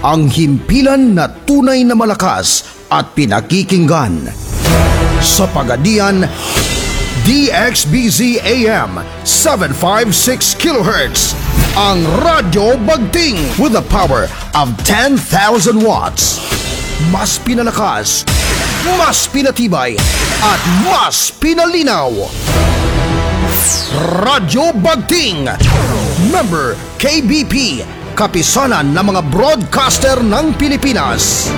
Ang himpilan na tunay na malakas at pinakikinggan. Sa Pagadian, DXBZ AM 756 kHz. Ang Radyo Bagting with a power of 10,000 watts. Mas pinalakas, mas pinatibay, at mas pinalinaw. Radyo Bagting. Member KBP, kapisanan ng mga broadcaster ng Pilipinas.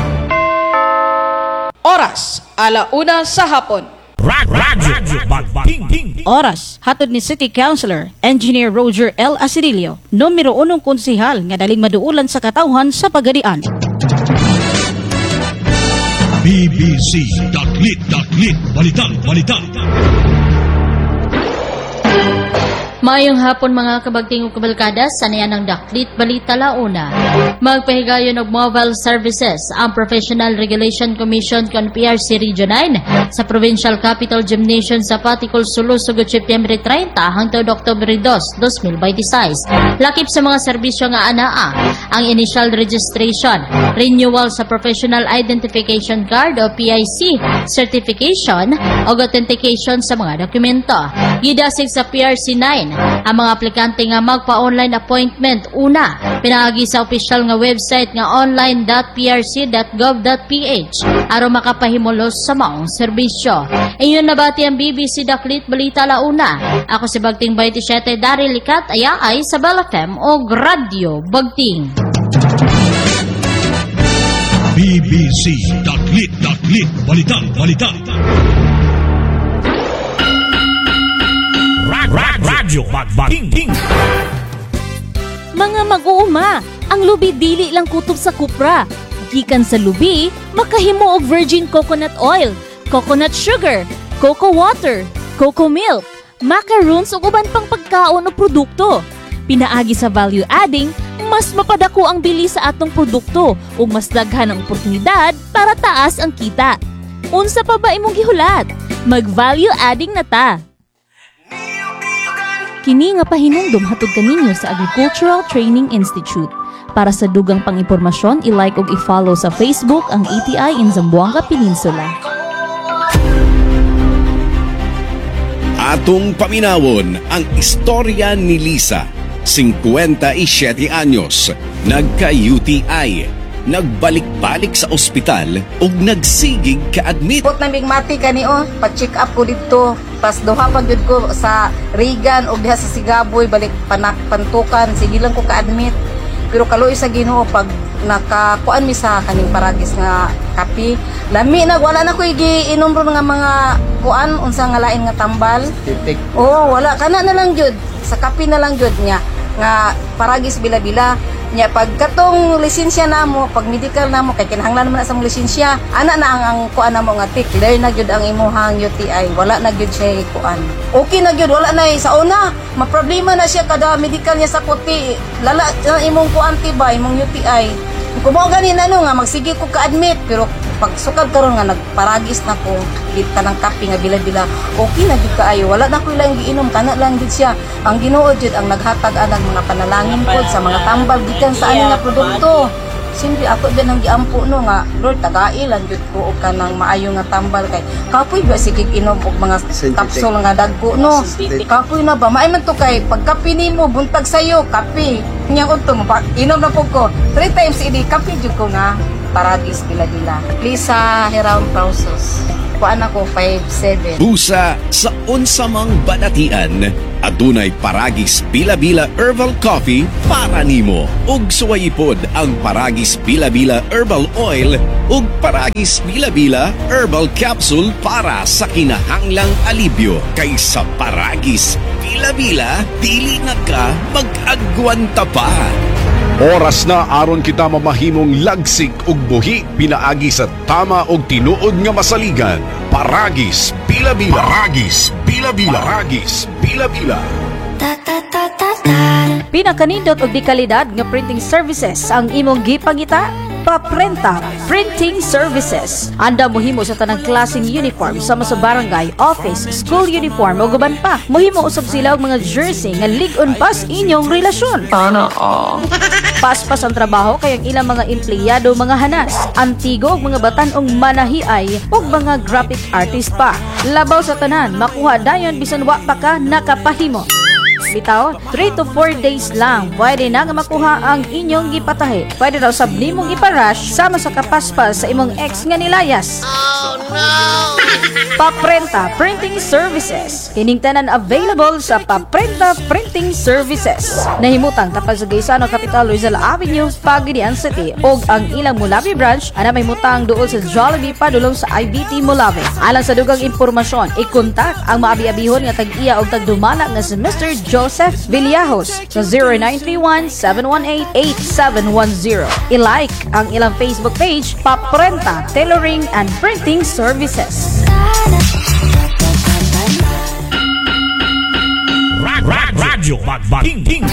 Oras, 1:00 sa hapon. Radyo Bagting. Oras, hatod ni City Councilor, Engineer Roger L. Asedillo, numero unong konsehal nga daling maduulan sa katawhan sa Pagadian. BBC Daklit Daklit Balita Balita. Maayong hapon, mga kabagting ug kabalkada, sa niyan ang Daklit Balita Launa. Magpahigayon og mobile services ang Professional Regulation Commission kon PRC Region 9 sa Provincial Capitol Gymnasium sa Patikul, Sulu sugod Setyembre 30 hangtod Oktubre 2, 2026. Lakip sa mga serbisyo nga anaa ang initial registration, renewal sa Professional Identification Card o PIC, certification o authentication sa mga dokumento. Gidasig sa PRC 9 ang mga aplikante nga magpa-online appointment una pinaagi sa opisyal nga website nga online.prc.gov.ph aron makapahimulos sa maong serbisyo. Inyo nabati ang BBC Daklit Balita Launa. Ako si Bagting 27 Daryl Likat ayaay sa Bell FM o Radyo Bagting. BBC Daklit Daklit Balita Balita. Radyo Bagting. Mga mag-uuma, ang lubi dili lang kutob sa kupra. Gikan sa lubi, makahimo og virgin coconut oil, coconut sugar, coco water, coco milk, macaroons ug uban pang pagkaon o produkto. Pinaagi sa value adding, mas mapadako ang bili sa atong produkto ug mas daghan ang oportunidad para taas ang kita. Unsa pa ba imong gihulat? Mag-value adding na ta. Kini nga pahinumdum hatod kaninyo sa Agricultural Training Institute. Para sa dugang pang-impormasyon, i-like ug i-follow sa Facebook ang ATI in Zamboanga Peninsula. Atong paminawon ang istorya ni Lisa, 57 anyos, nagka-UTI, nagbalik-balik sa ospital ug nagsigig ka-admit. Put na migmati kani oh, pa-check up ko didto. Tas duha pa gyud ko sa Regan og diha sa Sigaboy balik panak pantukan, sige lang ko ka-admit. Pero kaluoy sa Ginoo, pag nakakuan mi sa kaning paragis nga kape, lami na, wala na ko giinom ron nga mga kuan, unsa nga lain nga tambal. Oo, wala kana na lang gyud. Sa kape na lang gyud niya nga paragis bila-bila. Nya pag katong lisensya namo, pag medical namo kay kinahanglan man na sa mong lisensya. Ana na ang kuan namo nga tick, clear na gyud ang imuhang UTI. Wala na gyud siya kuan. Okay na gyud, wala na sa una. Maproblema na siya kada medical niya sa kuti. Lala na imong kuan ti ba, imong UTI. Kung mao gani na no nga magsige ko ka-admit, pero pag sukad karon nga nagparagis na ko git kanang kape nga bila-bila, okay na gyud kaayo, wala na ko ilang giinom, kana lang gyud siya. Ang Ginoo jud ang naghatag anang mga panalangin pod sa mga tambal gikan sa ani nga produkto. Siyempre ako din ang giampo no nga Lord, tagai lang jud ko og kanang maayo nga tambal kay kapoy ba sige inom og mga kapsul nga dagko no, kapoy na ba. Maay man to kay pagkape nimo buntag sayo kape nya udto mo inom na pud ko 3 times a day kape jud ko nga paragis bila-bila. Lisa Hiram Pausos. Kuan ako 5'7". Busa sa unsamang balatian, adunay Paragis Bila-Bila Herbal Coffee para nimo. Ug suwayipod ang Paragis Bila-Bila Herbal Oil ug Paragis Bila-Bila Herbal Capsule para sa kinahanglang alibyo. Kay sa Paragis Bila-Bila, dili na ka mag-agwanta pa. Oras na aron kita mamahimong lagsik ug buhi pinaagi sa tama ug tinuod nga masaligan. Paragis Bila-Bila. Paragis Bila-Bila. Paragis Bila-Bila. Pinakanindot og di kalidad nga printing services ang imong gipangita? Paprenta Printing Services. Anda mohimo sa tanang klaseng uniform sama sa barangay, office, school uniform ug uban pa. Mohimo usab sila og mga jersey nga lig-on pa sa inyong relasyon. Sana all. Paspas ang trabaho kay ang ilang mga empleyado mga hanas, antigo ug mga batan-ong manahiay ug mga graphic artist pa. Labaw sa tanan, makuha dayon bisan wa pa ka nakapahimo. Bitaw, 3 to 4 days lang pwede na nga makuha ang inyong gipatahi. Pwede raw sab nimong ipa-rush sama sa kapaspas sa imong ex nga nilayas. Paprenta Printing Services. Kining tanan available sa Paprenta Printing Services. Nahimutang tapad sa Gaisano Capital, Rizal Avenue, Pagadian City. Og ang ilang Molave branch ana may mutang duol sa Jollibee padulong sa IBT Molave. Alang sa dugang impormasyon, i-contact ang maabi-abihon nga tag-iya og tagdumala nga si Mr. Joseph Villajos sa 0931-718-8710. I-like ang ilang Facebook page, Paprenta Tailoring and Printing Services. Radyo Magbangking.